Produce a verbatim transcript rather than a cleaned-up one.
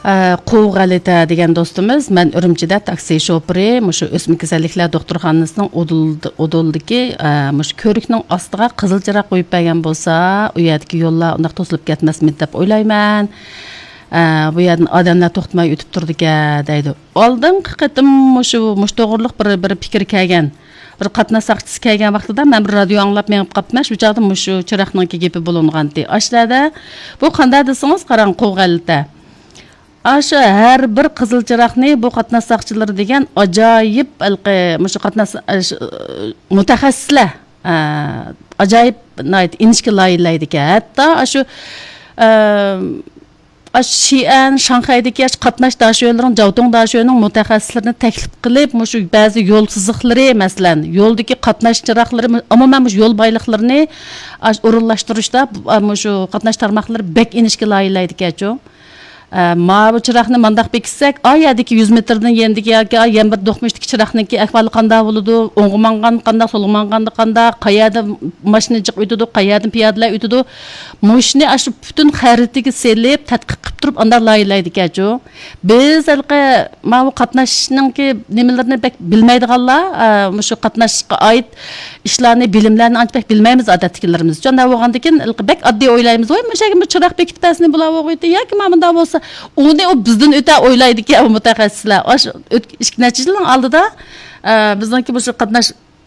ئە، قوۋ غەلىتە دېگەن دوستىمىز، مەن ئۈرۈمچىدە تاكسى شوپۇرى، مۇشۇ ئۆسمە كېسەللىكلەر دوختۇرخانىسىنىڭ ئۇدۇل-، ئۇدۇلدىكى، ئە، مۇشۇ كۆۋرۈكنىڭ ئاستىغا قىزىل چىراغ قويۇپ بەرگەن بولسا، ئۇ يەردىكى يوللار ئۇنداق توسۇلۇپ كەتمەسمىدى دەپ ئويلايمەن. ئە، بۇ يەردىن ئادەملەر توختىماي ئۆتۈپ تۇرىدىكەن، دەيدۇ. ئالدىنقى قېتىم مۇشۇ، مۇشۇ توغرىلىق بىر، بىر پىكىر كەلگەن. بىر قاتناش ساقچىسى كەلگەن ۋاقتىدا مەن بىر رادىيو ئاڭلاپ مېڭىپ قاپتىمەن. شۇ چاغدا مۇشۇ چىراغنىڭكى گېپى بولۇنغانتى. ئاشۇ يەردە بۇ قانداق دېسىڭىز، قاراڭ، قوۋ غەلىتە. ئاشۇ ھەر بىر قىزىل چىراغنى بۇ قاتناش ساقچىلىرى دېگەن ئاجايىپ ھېلىقى مۇشۇ قاتناش، ئە، ش-، مۇتەخەسسىسلەر، ئە، ئاجايىپ ناھايىتى ئىنچىكە لايىھەلەيدىكەن. ھەتتا ئاشۇ، ئە، ئاشۇ شىئەن، شاڭخەيدىكى ئاشۇ قاتناش داشۆلىرىنىڭ، جاۋتۇڭ داشۆنىڭ مۇتەخەسسىسلىرىنى تەكلىپ قىلىپ، مۇشۇ بەزى يول سىزىقلىرى، مەسىلەن، يولدىكى قاتناش چىراغلىرى، ئومۇمەن مۇشۇ يول بايلىقلىرىنى ئاش-، ئورۇنلاشتۇرۇشتا، بۇ، مۇشۇ قاتناش تارماقلىرى بەك ئىنچىكە لايىھەلەيدىكەنچۇ. ئە، ماۋۇ چىراغنى مانداق بېكىتسەك، ئا يەردىكى يۈز مېتىردىن يېنىدىكى ياكى ئا يەنە بىر دوقمۇشتىكى چىراغنىڭكى ئەھۋالى قانداق بولىدۇ؟ ئوڭغا ماڭغان قانداق، سولغا ماڭغاندا قانداق، قەيەردە ماشىنا جىق ئۆتىدۇ، قەيەردىن پىيادىلەر ئۆتىدۇ؟ مۇشۇنى ئاشۇ پۈتۈن خەرىتىگە سېلىپ، تەتقىق قىلىپ تۇرۇپ، ئانداق لايىھەلەيدىكەنچۇ. بىز ھېلىقى ماۋۇ قاتناشنىڭكى نېمىلىرىنى بەك بىلمەيدىغانلار، ئە، مۇشۇ قاتناشقا ئائىت ئىشلارنى، بىلىملەرنى ئانچە بەك بىلمەيمىز ئادەتتىكىلىرىمىز. شۇنداق بولغاندىكىن، بەك ئاددىي ئويلايمىز، ۋاي، مۇشۇ يەرگە بىر چىراغ بېكىتىپ بەرسىنى بۇلار بولغىيتى، ياكى مانا مۇنداق بولسا، ئۇنى ئۇ بىزدىن ئۆتە ئويلايدىكەن، ئۇ مۇتەخەسسىسلەر. ئاشۇ ئۆت-، ئىككى نەچچە يىلنىڭ ئالدىدا، ئە، بىزنىڭكى مۇشۇ قاتناش